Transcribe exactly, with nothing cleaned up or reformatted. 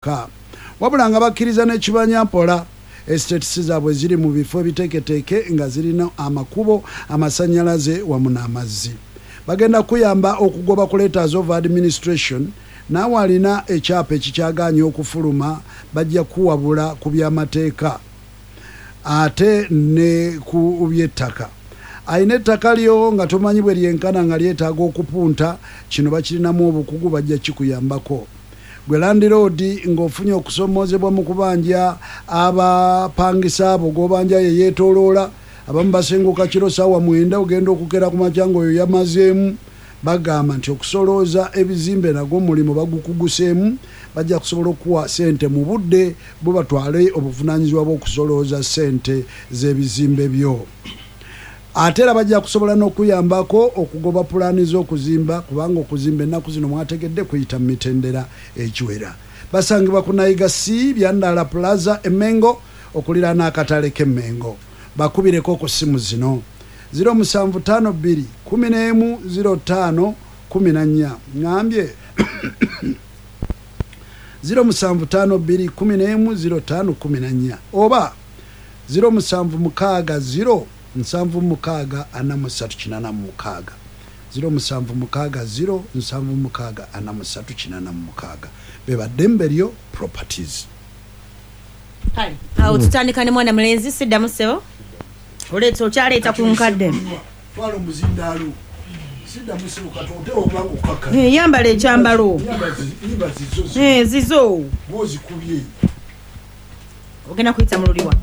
Ka wabula nga bakkiriza n'ekibanyampola. Estates zaabwe ziri mu bifo ebiteeketeeke nga zirina amakubo, amasannyalaze wamu n'amazzi. Bagenda kuyamba okugoba ku letters of administration. Naawe alina ekyapa ekikyagaanye okufuluma, bajja kuwabula ku byamateeka ate ne ku by'ettaka. Alina ettaka lyo nga tomanyi bwe lyenkana, nga lyetaaga okupunta, kino bakirinamu obukugu, bajja kikuyambako. Gwe landlord ng'ofunye okusomoozebwa mu kubanja abapangisa abo g'obanja, ye yeetooloola, abamu basenguka kiro saawa mwenda, ogenda okukera ku makya ng'oyo yamazeemu. Bagamba nti okusolooza ebizimbe nagwo mulimu bagukuguseemu, bajja kusobola okuwa sente mu budde bo batwale obuvunaanyizibwa bw'okusolooza sente z'ebizimbe byo. Ate era bajja kusobola n'okuyambako okugoba pulaani z'okuzimba, kubanga okuzimba ennaku zino mwategedde kuyita mu mitendera egiwera. Basangibwa ku Nayiga C Byandala Plaza, Emmengo, okuliraana akatale k'Emmengo. Bakubireko ku ssimu zino: zero musanvu ttaano bbiri kkumi n'emu zero ttaano kkumi na nnya. Ŋŋambye zero musanvu ttaano bbiri kkumi n'emu zero ttaano kkumi na nnya oba zero musanvu mukaaga zero nsanvu mukaaga ana mu ssatu kinaana mu mukaaga, zero musanvu mukaaga zero nsanvu mukaaga ana mu ssatu kinaana mu mukaaga. Be baddembe lyo Properties. Kale awo tutandika ne mwana mulenzi. Siddamu ssebo, oleeta okyaleeta ku nkadde. Twala omuzindaalo. Siddamu ssebo, katote obanga okakka. Eh, yambala ekyambalo. Nyimba zizo. Eh, zizo. Bwozikubye. Ogenda kuyita mu luliwa.